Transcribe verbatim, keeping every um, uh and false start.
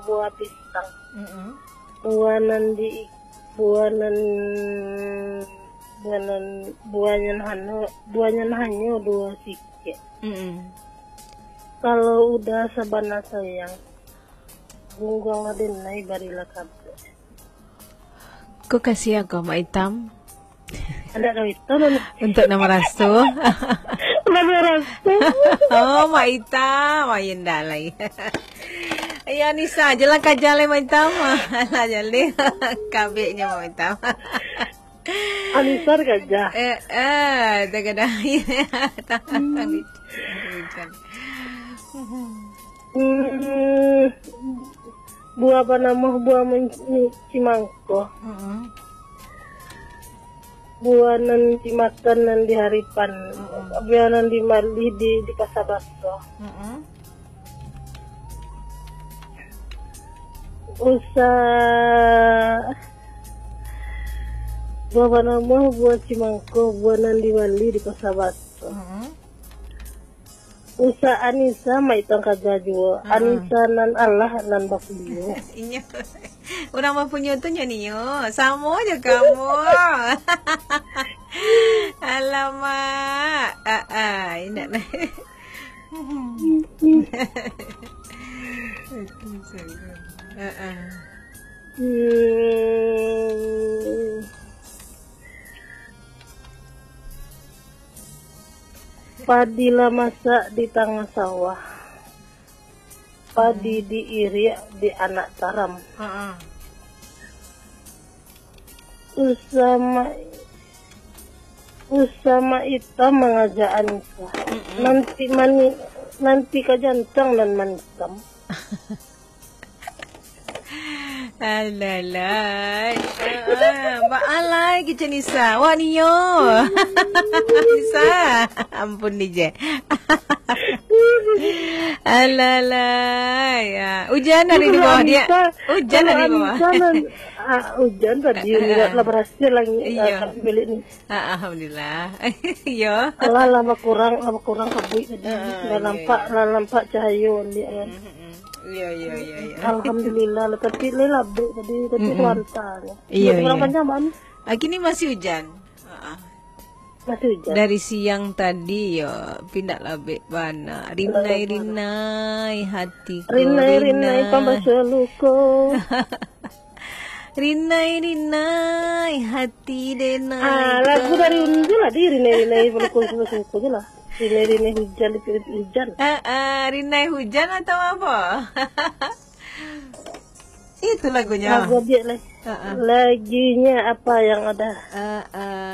buah pisang. Mm-mm. Buah nan di, buah nan, buah nan, buahnya hanyo, buahnya hanyo duo sikik. Mm-mm. Kalau uda sabana sayang, gungguanglah denai barilah kabar. Ko kasiah ko, Mak Itam. Anak kami tu, Nana. Untuk nan maraso. Nan maraso. Oh, Mak Itam. Ayo, ndak lai. Ayo, Anisa, jalan kaja lai, Mak Itam. Alah, jaleh. Kabeknyo, Mak Itam. Anisa kaja. Eh, eh, dah kadang. Hmm. Hmm, buah banamo buah men-, cimangko. Mm-mm. Buah nan dimakan nan di haripan. Mm-mm. Buah nan dibali di, di Pasa Baso. Mm-mm. Usa-, buah banamo buah cimangko, buah nan dibali di Pasa Baso. Mm-mm. Usa Anisa, Mak Itam kaja juo. Ha-a. Anisa nan alah, nan bapunyo. Inyo. Urang bapunyo tu nyo nio. Samo jo kamu. Alamak. Ah, ah, indak lah. Ah, ah. Hmm. Padi lah masak di tangah sawah. Padi diiriak di anak taram. Ha-a. Usama, Usama Itam mangajak Anisa. Mm-mm. Nanti mani-, nanti ka jantang nan manikam. Alalai. Ah, baalai kecek Nisa. Wah, nio. Nisa. Ampun, D J. Alalai. Ah, ujan dari di bawah dia. Ujan dari bawah. Kalau Anisa nan, ah, ujan tadi, lah berhasil langit, ah, bilik ni. Ah, alhamdulillah. Iyo. Alah, lah bakurang, lah bakurang kabuik tadi. Ah, lah nampak, lah nampak cahayo dia kan. Mm-mm. Iyo, iyo, iyo, iyo. Alhamdulillah lah, tapi lai labek tadi, tapi suanta. Iyo, iyo. Kurang panjang, Bang. Ah, kini masih ujan. Ah, ah. Masih ujan. Dari siang tadi, yo, pindak labek bana. Rinai, rinai, hatiku rinai, rinai, pambaso luko. Rinai, rinai, hati denai. Ah, lagu dari Unju lah, di Rinai, rinai, berluko, berluko je lah. Rinai, rinai, hujan, dipilih hujan. Ah, ah, rinai hujan atau apa? Itu lagunya. Lagu dia lah. Ah, ah. Lagunya apa yang ada? Ah, ah.